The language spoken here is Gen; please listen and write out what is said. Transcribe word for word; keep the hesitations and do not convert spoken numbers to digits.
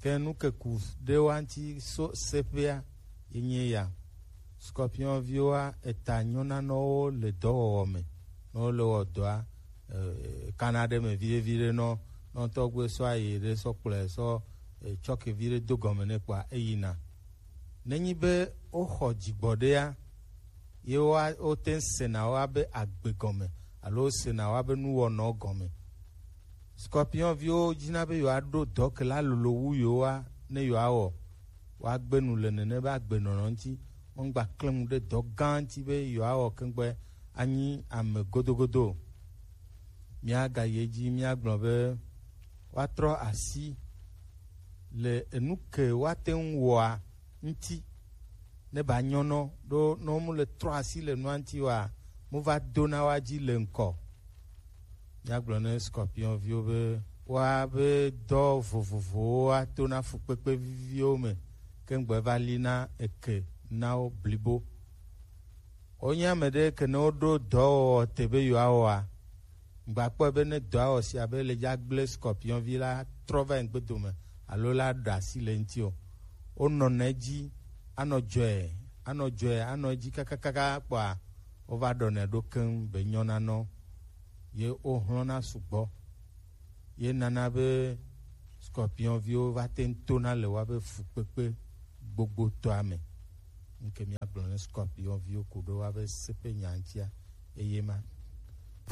Ke nukeku ɖewoa ŋuti so seƒea ye nye ya. Scorpion viwoa eta nyɔnanɔwo le dɔwɔwɔ me. Ne wole wɔ dɔa, eh, kana ɖe me viɖe viɖe nɔ, nɔ tɔgbe sɔ ayi ɖe sɔ kplɔe sɔ, eh, tsɔke viɖe do gɔme nɛ kpɔa eyina. Nenyi be woxɔ dzigbɔɖea, ye woa-, wote ŋu sena wo abe agbe gɔme alo wosena wo abe nuwɔnɔ gɔme. Scorpion viwo dina be yewoaɖo dɔ ke la lolo wu yewoa ne yewoawɔ. Woagbe nu le nene be agbenɔnɔ ŋuti. Womgba klẽ nu ɖe dɔ gã ŋuti be yewoawɔ keŋgbe anyi ame godogodo o. Míagayi edzi míagblɔ be woatrɔ asi le enu ke woate ŋu wɔa ŋuti ne ba nyɔnɔ ɖo ne womu le trɔ asi le nua ŋuti wa mu va dona wa dzi le ŋkɔ. Míagblɔ ne scorpion viwo be woabe dɔ vovovowo ato na fukpekpe viviwo me keŋgbe va li na eke na wo blibo. Wonye ame ɖe ke ne woɖo dɔwɔwɔ te be yewoawɔa, ŋgba kpɔe be ne dɔa wɔ sia be le dza gblẽ scorpion vi la trɔ va yi ŋgbe dome alo la ɖe asi le ŋuti o. Wonɔna edzi anɔ dzɔe, anɔ dzɔe, anɔ edzi kakakaka kpɔa wova ɖɔnɛ ɖo keŋ be nyɔna nɔ ye wohlɔna sugbɔ. Ye nana be scorpion viwo va te ŋu tona le woabe fukpekpe gbogbotɔa me. Ŋke míagblɔ ne scorpion viwo ku ɖo woabe seƒe nya ŋutia eye ma.